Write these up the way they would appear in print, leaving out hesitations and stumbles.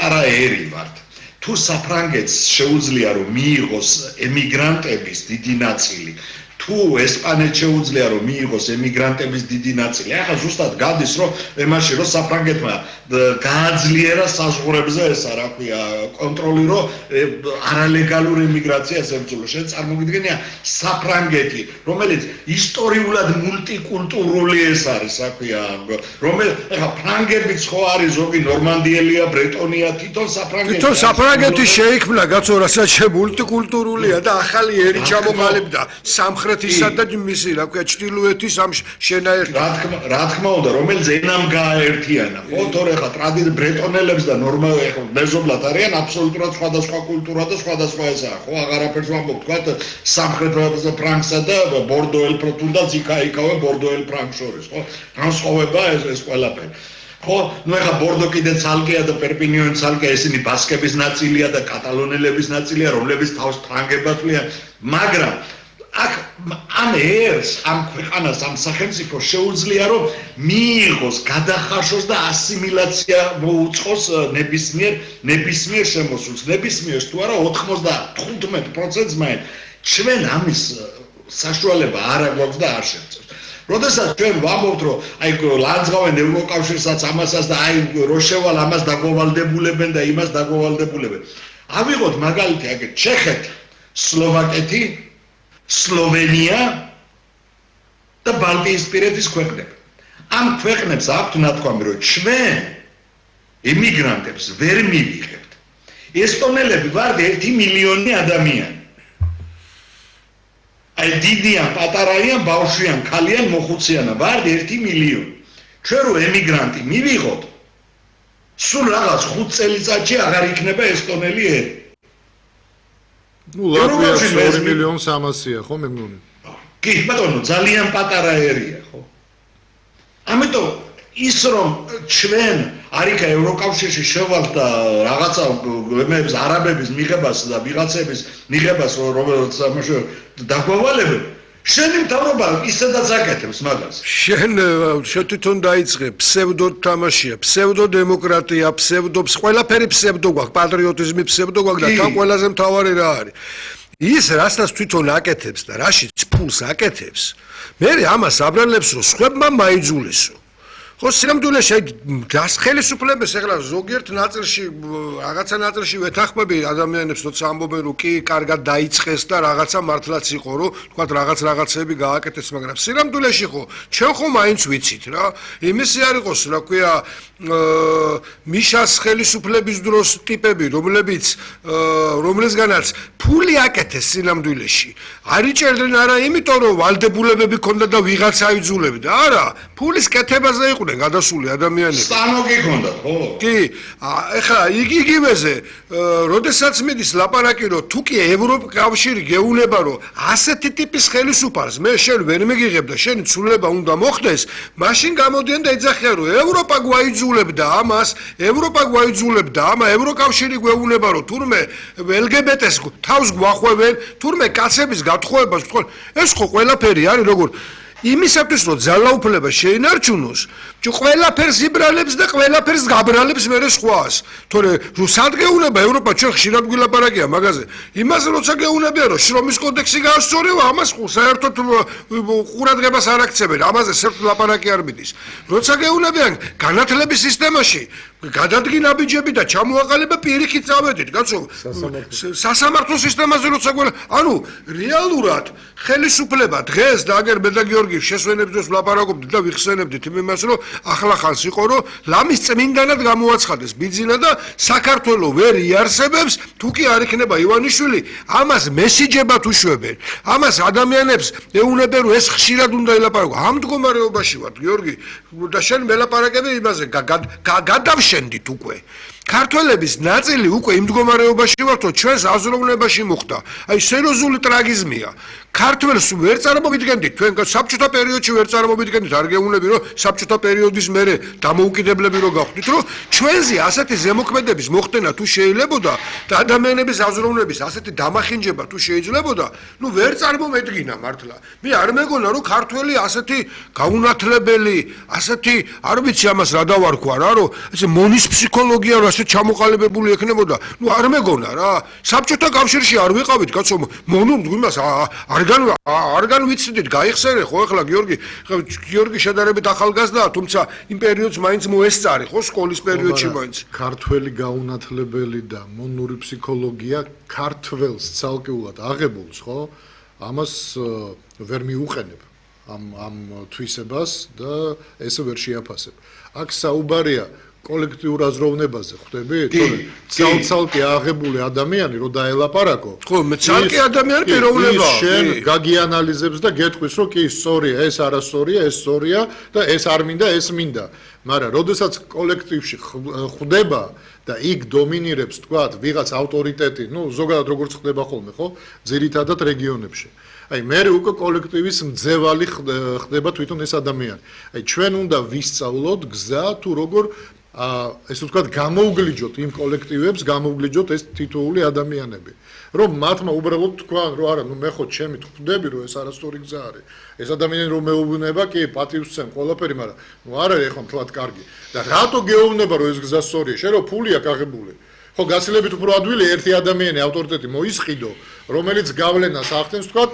პატარა ერი ვართ. თუ საფრანგეთს შეუძლია რომ მიიღოს ემიგრანტების დიდი ნაწილი, თუ ესპანეთს შეუძლია რომ მიიღოს ემიგრანტების დიდი ნაწილი, ახლა ზუსტად გადის რომ იმაში რომ საფრანგეთმა გააძლიერა საზღვრებზე ესა რა ქვია კონტროლი რომ არალეგალურ ემიგრაციას ებრძოლა. შენ წარმოგიდგენია საფრანგეთი, რომელიც ისტორიულად მულტიკულტურული ეს არის, რა ქვია, ახლა ფრანგებიც ხო არის ზოგი ნორმანდიელია, ბრეტონია, თვითონ საფრანგეთი შეიქმნა კაცო, რასაც მულტიკულტურულია და ახალი ერი ჩამოყალიბდა სამხრეთისა და მისი, რა ქვია, ჩრდილოეთის ამ შენაერთად. რა თქმა უნდა, რომელიც ენამ გააერთიანა, ხო, თორე ხა ტრადიციულ ბრეტონელებს და ნორმალ მეზობლად არიან აბსოლუტურად სხვადასხვა კულტურა და სხვადასხვა ესაა, ხო, აღარაფერს ვამბობ, თქვა სამხრეთ ფრანკსა და ბორდოელ პროტუნდაც იქაიკავე ბორდოელ ფრანკს შორის, ხო? განსხვავება ეს ყველაფერი. ხო, ნუ ეხა ბორდო კიდე ცალკეა და პერპინიონი ცალკეა, ესენი ბასკების ნაწილია და კატალონელების ნაწილია, რომლებიც თავს ფრანგებად თვლიან, მაგრამ აქ ამ ერს, ამ ქვეყანას, ამ სახელმწიფოს შეუძლია რომ მიიღოს, გადახარშოს და ასიმილაცია მოუწყოს ნებისმიერ შემოსულს. ნებისმიერს თუ არა 95%-ს მაინც ჩვენ ამის საშუალება არ აგვაქვს და არ შევწევს. როდესაც ჩვენ ვამბობთ რომ აი ლანძღავენ ევროკავშირსაც ამასაც და აი რო შევალ ამას დაგოვალდებულებენ და იმას დაგოვალდებულებენ. ავიღოთ მაგალითი აგეთ ჩეხეთი, სლოვაკეთი, სლოვენია და ბალტიისპირეთის ქვეყნები. ამ ქვეყნებს აქვთ ნათქვამი, რომ ჩვენ ემიგრანტებს ვერ მივიღებთ. ესტონელები ვართ 1 მილიონი ადამიანი. აი დიდიან, პატარაიან, ბავშვიან, ქალიან, მოხუციანა ვართ 1 მილიონი. ჩვენ რო ემიგრანტი მივიღოთ, სულ რაღაც 5 წელიწადში აღარ იქნება ესტონელი ერი. ნუ ლატვიაში 2.300.000-ია, ხო, მე მგონი. კი, ბატონო, ძალიან პატარა ერია, ხო? ამიტომ ის რომ ჩვენ არიქა ევროკავშირში შევალთ და რაღაცა მემებს არაბების მიღებას და ვიღაცების მიღებას რომელიც დაგვავალებენ, შენი მთავრობა ისედაც აკეთებს მაგას. შენ თვითონ დაიწყე ფსევდო თამაშია, ფსევდო დემოკრატია, ფსევდობს, ყველაფერი ფსევდო გვაქვს, პატრიოტიზმი ფსევდო გვაქვს და თან ყველაზე მთავარი რა არის? ის რასაც თვითონ აკეთებს და რაშიც ფულს აკეთებს, მე ამას აბრალებს რომ სხვებმა მაიძულესო. ხო, სინამდვილეში გას ხელისუფლებას ეხლა ზოგიერთ ნაწილში, რაღაცა ნაწილში ვეთანხმები ადამიანებს, როცა ამბობენ რომ კი, კარგად დაიწყეს და რაღაცა მართლაც იყო, რომ თქვა რაღაცები გააკეთეს, მაგრამ სინამდვილეში ხო, ჩვენ ხო მაინც ვიცით რა. იმისი არ იყოს, რა ქვია, მიშას ხელისუფლების დროს ტიპები, რომლისგანაც ფული აკეთეს სინამდვილეში. არ იჭერდნენ არა იმიტომ, რომ ვალდებულებები ქონდა და ვიღაცა აიძულებდა, არა, ფულის კეთებაზე იყო გადასული ადამიანები. სტანოკი ქონდა, ხო? კი, ეხლა იგივეზე, როდესაც მიდის ლაპარაკი, რომ თუ კი ევროკავშირი გეუნება, რომ ასეთი ტიპის ხელისუფალს მე შენ ვერ მიგიღებ და შენი ცვლილება უნდა მოხდეს, მაშინ გამოდიან და ეძახიან, რომ ევროპა გვაიძულებდა ამას, ამა ევროკავშირი გვეუნება, რომ თურმე LGBT-ს თავს გვახვევენ, თურმე კაცების გათხოვებას ვთქვენ, ეს ხო ყველაფერი არის როგორ იმისათვის რომ ძალაუფლება შეინარჩუნოს, ყველაფერს იბრალებს და ყველაფერს გაბრალებს მერე სხვას. თორე რუსად გეუნება ევროპა ჩვენ ხშირად გვილაპარაკია მაგაზე. იმას როცა გეუნებია რომ შრომის კოდექსი გაასწორება, ამას საერთოდ ყურადღებას არ აქცევენ. ამაზე საერთოდ ლაპარაკი არ მიდის. როცა გეუნებიან განათლების სისტემაში გადადგინა ბიჯები და ჩამოაყალიბა პირიქით წავედით, კაცო. სასამართლო სისტემაზე როცა ანუ რეალურად ხელისუფლება დღეს და აგერ მე და გიორგი შესვენებს დროს ვლაპარაკობდით და ვიხსენებდით იმას რომ ახლა ხანს იყო რომ ლამის წმინდანად გამოაცხადეს ბიძინა და საქართველოს ვერ იარსებებს თუ კი არ იქნება ივანიშვილი ამას მესიჯებად უშვებენ ამას ადამიანებს ეუნებენ რომ ეს ხშირად უნდა ელაპარაკო ამ მდგომარეობაში ვართ გიორგი და შენ მელაპარაკები იმაზე გადავშენდით უკვე ქართველების ნაწილი უკვე იმ მდგომარეობაში ვართ რომ ჩვენს აზროვნებაში მოხდა აი სერიოზული ტრაგიზმია ქართველს ვერ წარმოვიდგენდით თქვენ საბჭოთა პერიოდში ვერ წარმოვიდგენდით არ გეუბნები რომ საბჭოთა პერიოდის მერე დამოუკიდებლები რო გავხდით რომ ჩვენზე ასეთი ზემოქმედების მოხდენა თუ შეიძლებოდა და ადამიანების აზროვნების ასეთი დამახინჯება თუ შეიძლებოდა ნუ ვერ წარმომედგინა მართლა მე არ მეგონა რომ ქართველი ასეთი გაუნათლებელი ასეთი არ ვიცი ამას რა დავარქვა რა რომ ესე მონის ფსიქოლოგია რა ასე ჩამოყალიბებული ექნებოდა ნუ არ მეგონა რა საბჭოთა კავშირში არ ვიყავით კაცო მონუ იმას არგან ვიცდით გაიხსენე ხო ახლა გიორგი შედარებით ახალგაზრდაა თუმცა იმ პერიოდს მაინც მოესწარი ხო სკოლის პერიოდში მაინც ქართველი გაუნათლებელი და მონური ფსიქოლოგია ქართველს ცალკეულად აღებულს ხო ამას ვერ მიუყენებ ამ თვისებას და ესე ვერ შეაფასებ აქ საუბარია კოლექტიურ აზროვნებაზე ხვდები? თორე ცალკე აღებული ადამიანი რო დაელაპარაკო. ხო, მე ცალკე ადამიანი პიროვნებაა. შენ გაგიანალიზებს და გეტყვის რომ კი სწორია, ეს არასწორია, ეს სწორია და ეს არ მინდა, ეს მინდა. მაგრამ როდესაც კოლექტივში ხვდება და იქ დომინირებს თქვათ ვიღაც ავტორიტეტი, ну ზოგადად როგორც ხდება ხოლმე, ხო? ძირითადად რეგიონებში. აი მე უკვე კოლექტივის მძევალი ხდება თვითონ ეს ადამიანი. აი ჩვენ უნდა ვისწავლოთ გზა თუ როგორ ესე ვთქვათ გამოვგლიჯოთ იმ კოლექტივებს, გამოვგლიჯოთ ეს თითოეული ადამიანები. რომ მათმა უბრალოდ თქვან რომ არა, ნუ მე ხო ჩემი ხვდები რომ ეს არასწორი გზა არის. ეს ადამიანი რომ მეუბნება, კი პატივს სცემ ყველაფერი, მაგრამ ნუ არ არის ახლა მთლად კარგი. და რატო გეუბნება რომ ეს გზა სწორია? შენ რომ ფული აქვს აღებული. ხო გაცილებით უფრო ადვილი ერთი ადამიანი ავტორიტეტი მოისყიდო, რომელიც გავლენას ახდენს თქვათ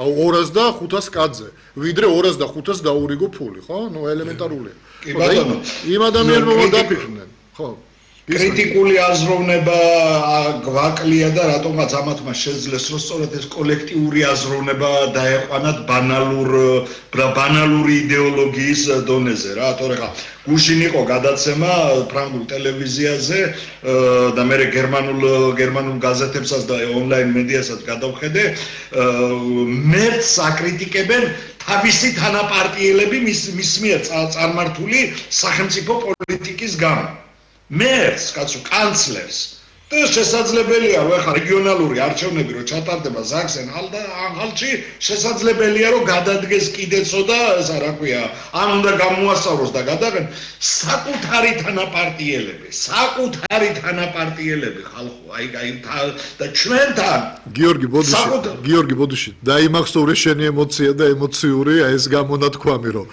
205 კაცზე, ვიდრე 205 დაურიგო ფული, ხო? ნუ ელემენტარულია. კი ბატონო, იმ ადამიანებმა დაფიქრდნენ, ხო? კრიტიკული აზროვნება გვაკლია და რატომაც ამათმა შეძლეს რომ სწორედ ეს კოლექტიური აზროვნება დაეყვანათ ბანალური იდეოლოგიის დონეზე რა, თორე ხა გუშინ იყო გადაცემა ფრანგულ ტელევიზიაზე და მე გერმანულ გაზეთებსაც და ონლაინ მედიასაც გადავხედე, მერც აკრიტიკებენ თავისი თანაპარტიელები მის მიერ წარმართული სახელმწიფო პოლიტიკის გამო. მერს, კაცო, კანცლერს და შესაძლებელია რომ ახლა რეგიონალური არჩევნები რო ჩატარდება ზაქსენ-ანჰალტში, შესაძლებელია რომ გადადგეს კიდეცო და ესა რა ქვია, ან უნდა გამოასწოროს და გადაღენ საკუთარი თანაპარტიელები ხალხო, აი და ჩვენთან გიორგი ბოდიში, დაიმახსოვრე შენი ემოცია და ემოციური ეს გამონათქვამი რომ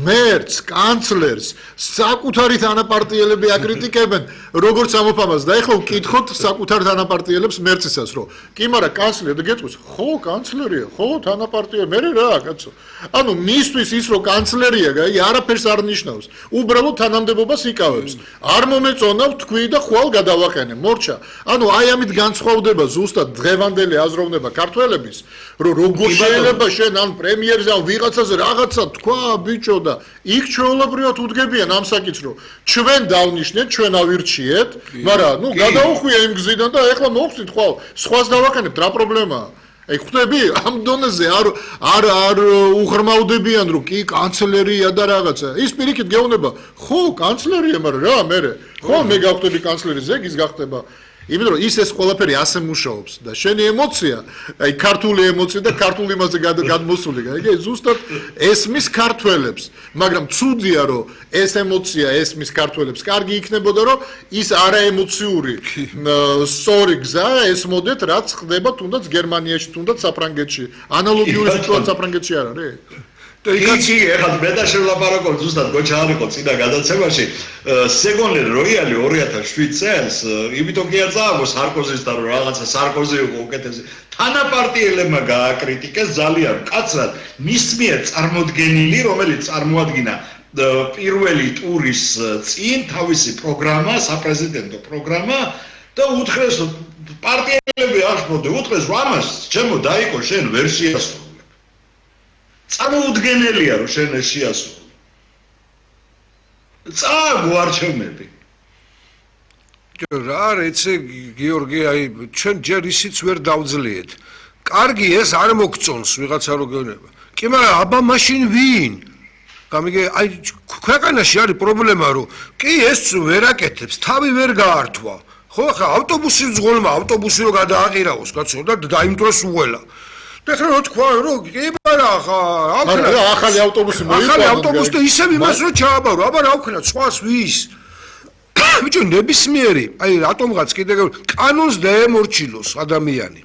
მერც, კანცლერს საკუთარი თანაპარტიელები აკრიტიკებენ, როგორც ამოფამას და ეხლა ვკითხოთ საკუთარ თანაპარტიელებს მერცისას რომ კი მაგრამ კანცლერი და გეტყვის ხო კანცლერია ხო თანაპარტია მე რა კაცო ანუ მისთვის ის რომ კანცლერია გაი არაფერს არ ნიშნავს უბრალოდ თანამდებობას იკავებს არ მომეწონავ თქვი და ხვალ გადავაყენე მორჩა ანუ აი ამით განსხვავდება ზუსტად დღევანდელი აზროვნება ქართველების რომ როგორ შეიძლება შენ ან პრემიერზე ან ვიღაცაზე რაღაცა თქვა ბიჭო და იქ ჩვეულებრივად უდგებიან ამ საკითხს რომ ჩვენ დავნიშნეთ ჩვენ ავირჩიეთ მაგრამ ნუ გადაუხვია იმ გზიდან და ეხლა მოვხსნით ხვალ სხვას დავაყენებთ რა პრობლემაა აი ხვდები ამ დონეზე არ უღრმავდებიან რომ კი კანცლერია და რაღაცა ის პირიქით გეუბნება ხო კანცლერია მაგრამ რა მე ხო მე გავხდები კანცლერი ზეგის გახდება იმიტომ რომ ის ყველაფერი ასე მუშაობს და შენი ემოცია აი ქართული ემოცია და ქართული იმაზე გადმოსული გაიგე ზუსტად ესმის ქართველებს მაგრამ ცუდია რომ ეს ემოცია ესმის ქართველებს კარგი იქნებოდა რომ ის არაემოციური სწორი გზა ესმოდეთ რაც ხდება თუნდაც გერმანიაში თუნდაც საფრანგეთში ანალოგიური სიტუაცია საფრანგეთში არ არის და იქაცი ეხლა მე და შევლაპარაკობ ზუსტად გოჩა არ იყო წინა გადაცემაში სეგონლერ როიალი 2007 წელს იმიტომ კი არ წააგო სარკოზისთან რომ რაღაცა სარკოზი იყო უკეთესი თანაპარტიელებმა გააკრიტიკეს ძალიან მკაცრად მის მიერ წარმოდგენილი რომელიც წარმოადგინა პირველი ტურის წინ თავისი პროგრამა საპრეზიდენტო პროგრამა და უთხრეს პარტიელები აღშფოთე უთხრეს რომ ამას ჩემო დაიკო შენ ვერ შეასრულე წარმოუდგენელია რომ შენ ეს შეასრულე. წააგო არჩევნები. რა რეცე გიორგი აი ჩვენ ჯერ ისიც ვერ დავძლიეთ. კარგი ეს არ მოგწონს ვიღაცა რო გეუბნება. კი მაგრამ აბა მაშინ ვინ? გამიგე აი ქვეყანაში არის პრობლემა რომ კი ეს ვერ აკეთებს, თავი ვერ გაართვა. ხო ხა ავტობუსის ძღოლმა ავტობუსი რო გადააყირაოს კაცო და დაიმტვროს უღელა. და ეხლა რო თქვა რომ კი არა ახალი ავტობუსი მოიყვანა ახალი ავტობუსი და ისევ იმას რო ჩააბარო აბა რა ვქნა სხვას ვის ბიჭო ნებისმიერი აი რატომღაც კიდე კანონს დაემორჩილოს ადამიანი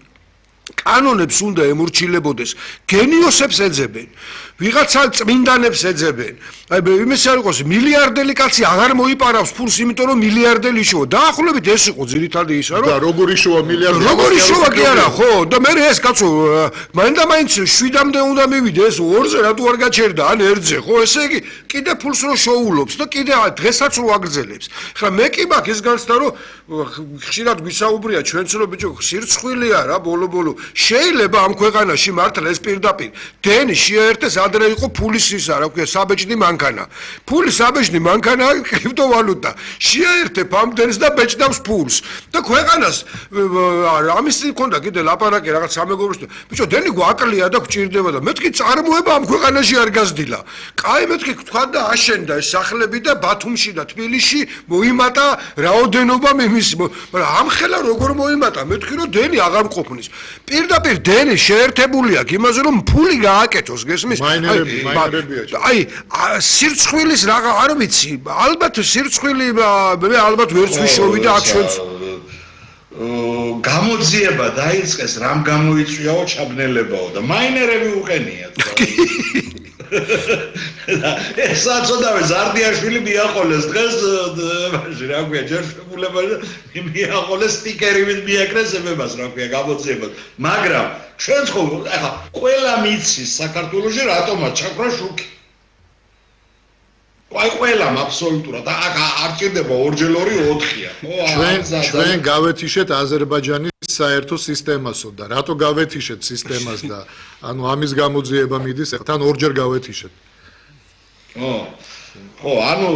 კანონებს უნდა ემორჩილებოდეს გენიოსებს ეძებენ ვიღაცა წმინდანებს ეძებენ აი იმის არ იყოს მილიარდელი კაცი აღარ მოიპარავს ფულს იმიტომ რომ მილიარდელი შოვა დაახლოებით ეს იყო ძირითადი ისა რომ და როგორი შოვა მილიარდელი როგორი შოვა კი არა ხო და მე ეს კაცო მაინდა-მაინც 7-მდე უნდა მივიდე ეს 2-ზე რატო არ გაჩერდა ან 1-ზე ხო ესე იგი კიდე ფულს რო შოულობს და კიდე დღესაც რო აგრძელებს ხა მე კი მაქვს ეს განცდა რომ ხშირად გვისაუბრია ჩვენც რომ ბიჭო სირცხვილია რა ბოლო-ბოლო შეიძლება ამ ქვეყანაში მართლა ეს პირდაპირ დენი შეერთეს ადრე იყო ფულის ისა რა ქვია საბეჭდი მანქანა ფული საბეჭდი მანქანა კრიპტოვალუტა შეერთებ ამ დენს და ბეჭდავს ფულს და ქვეყანას ამის მქონდა კიდე ლაპარაკი რაღაც სამეგობროს ბიჭო დენი გვაკლია და გვჭირდება და მეთქი წარმოება ამ ქვეყანაში არ გაზრდილა კაი მეთქი თქვა და აშენდა ეს სახლები და ბათუმში და თბილისში მოიმატა რაოდენობა იმის მაგრამ ამ ხელა როგორ მოიმატა მეთქი რომ დენი აღარ მყოფნის პირდაპირ დენი შეერთებული აქვს იმაზე რომ ფული გააკეთოს გესმის აი სირცხვილის რაღა არ ვიცი ალბათ სირცხვილი მე ალბათ ვერც ვიშოვი და აქ ჩვენც გამოძიება დაიწყეს რამ გამოიწვიაო ჩაბნელებაო და მაინერები უყენია ეს საწოდავე ზარდიაშვილი მიაყოლეს დღეს მაშინ რა ქვია ჯერშებულება მიაყოლეს სტიკერივით მიაკრეს ემებას რა ქვია გამოძიება მაგრამ ჩვენც ხო ახლა ყველა მიცის საქართველოში რატომაც ჩაქრა შუქი აი ყველამ აბსოლუტურად არ ჭირდება 2x2 4-ია ხო ჩვენ გავეთიშეთ აზერბაიჯანის საერთო სისტემასო და რატო გავეთიშეთ სისტემას და ანუ ამის გამოძიება მიდის თან 2-ჯერ გავეთიშეთ ხო ანუ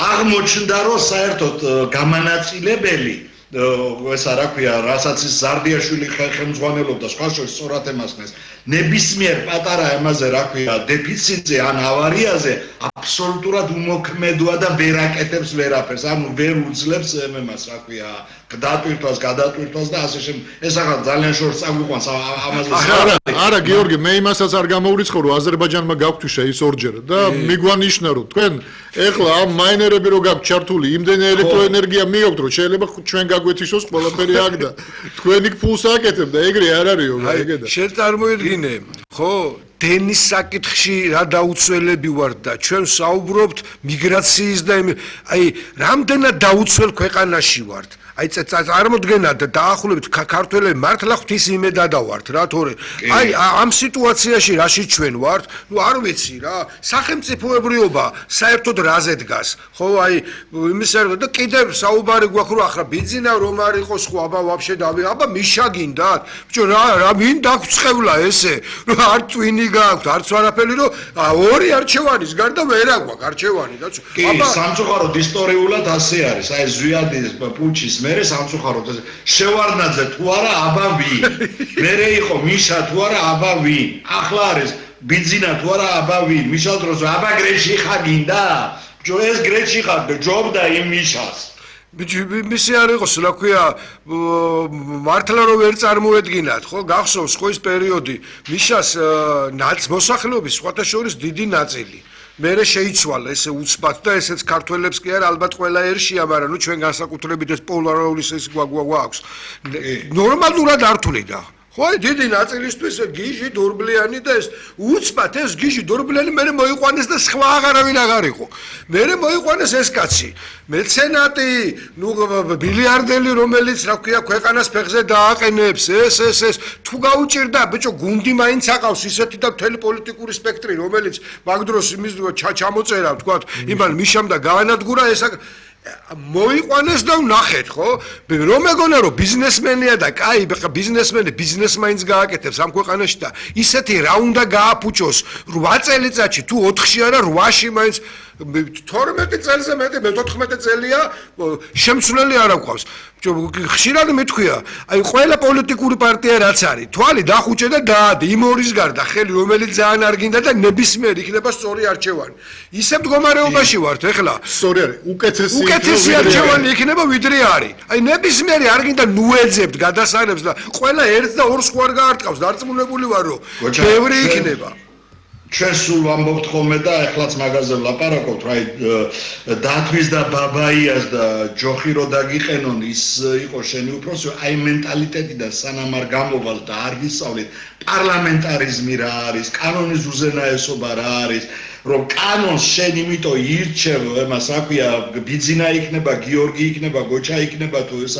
აღმოჩნდა რომ საერთოდ გამანაწილებელი ესა რა ქვია რასაც ის ზარდიაშვილი ხელმძღვანელობდა სხვა შორის სწორად ემასხნეს ნებისმიერ პატარა ემაზე რა ქვია დეფიციტზე ან ავარიაზე აბსოლუტურად უმოქმედოა და ვერ აკეთებს ვერაფერს ანუ ვერ უძლებს ემას რა ქვია გადატვირთვას და ასე შემდეგ ეს ახლა ძალიან შორს წაგვიყვანს ამაზე არა გიორგი მე იმასაც არ გამოვრიცხო რომ აზერბაიჯანმა გავთიშა ის 2-ჯერ და მიგვანიშნა რომ თქვენ ეხლა ამ მაინერები რო გაქვთ ჩართული იმდენი ელექტროენერგია მიაქვთ რომ შეიძლება ჩვენ გაგვეთიშოს ყველაფერი აქ და თქვენ იქ ფულს აკეთებ და ეგრე არ არისო ეგედა შენ წარმოიდგინე ხო დენის საკითხში რა დაუცველები ვართ და ჩვენ საუბრობთ მიგრაციის და აი რამდენად დაუცველ ქვეყანაში ვართ აი წარმოდგენა და დაახლოებით ქართველები მართლა ღვთის იმედადა ვართ რა თორე აი ამ სიტუაციაში რაში ჩვენ ვართ ნუ არ ვიცი რა სახელმწიფოებრიობა საერთოდ რაზე დგას ხო აი იმის არ და კიდევ საუბარი გვაქვს რომ ახლა ბიზნესა რომ არ იყოს ხო აბა ვაფშე დავი აბა მიშა გინდათ ბიჭო რა ვინ დაგწევლა ესე რომ არ ტვინი გაქვთ არც არაფერი რომ ორი არჩევანის გარდა ვერ აგვაქვს არჩევანი და აბა სამწუხაროდ ისტორიულად ასე არის აი ზვიადის პუჩის მერე სამწუხაროდ შევარდნაძე თუ არა აბა ვინ მერე იყო მიშა თუ არა აბა ვინ ახლა არის ბიზნესა თუ არა აბა ვინ მიშა დროს აბა გრეში ხარ გინდა ჯო ეს გრეში ხარ ჯობდა იმ მიშას მისი არ იყოს რა ქვია მართლა რომ ვერ წარმოედგინათ ხო გახსოვს ხო ის პერიოდი მიშას მოსახლეობის სხვათა შორის დიდი ნაწილი მერე შეიცვალა ესე უცბად და ესეც ქართველებს კი არა ალბათ ყველა ერშია მაგრამ ნუ ჩვენ განსაკუთრებით ეს პოლარული ეს გვაქვს ნორმალურად არ თვლიდა ხო დიდი ნაწილისთვის გიჟი დორბლიანი და ეს უცბად ეს გიჟი დორბლიანი მერე მოიყვანეს და სხვა აღარავინ აღარ იყო მერე მოიყვანეს ეს კაცი მეცენატი ნუ ბილიარდელი რომელიც რა ქვია ქვეყანას ფეხზე დააყენებს ეს თუ გაუჭირდა ბიჭო გუნდი მაინც აყავს ისეთი და მთელი პოლიტიკური სპექტრი რომელიც მაგ დროს იმის ჩამოწერა თქვა იმან მიშამ და გაანადგურა ეს მოიყვანეს და ვნახეთ ხო რომ მეგონა რომ ბიზნესმენია და კაი ბიზნესმენი ბიზნეს მაინც გააკეთებს ამ ქვეყანაში და ისეთი რა უნდა გააფუჭოს 8 წელიწადში თუ 4-ში არა 8-ში მაინც 12 წელზე მეტი, მე 14 წელია შემცვლელი არ აქვს. ხშირად მეთქვია, აი ყველა პოლიტიკური პარტია რაც არის, თვალი დახუჭე და დაადე იმ ორის გარდა ხელი რომელიც ძალიან არ გინდა და ნებისმიერ იქნება სწორი არჩევანი. ისე მდგომარეობაში ვართ ეხლა. სწორი არის, უკეთესი არჩევანი იქნება ვიდრე არის. აი ნებისმიერი არ გინდა ნუეძებთ გადასარევს და ყველა ერთ და ორს ხوار გაარტყავს, დარწმუნებული ვარ რომ ბევრი იქნება. ჩვენ სულ ვამბობთ ხოლმე და ეხლაც მაგაზე ვლაპარაკობთ, რა დათვის და ბაბაიას და ჯოხი რო დაგიყენონ ის იყო შენი უფროსი, აი მენტალიტეტიდან სანამ არ გამოვალ და არ ვისწავლით პარლამენტარიზმი რა არის, კანონის უზენაესობა რა არის, რომ კანონს შენ იმიტომ ირჩევ, იმას აქვია, ბიძინა იქნება, გიორგი იქნება, გოჩა იქნება თუ ეს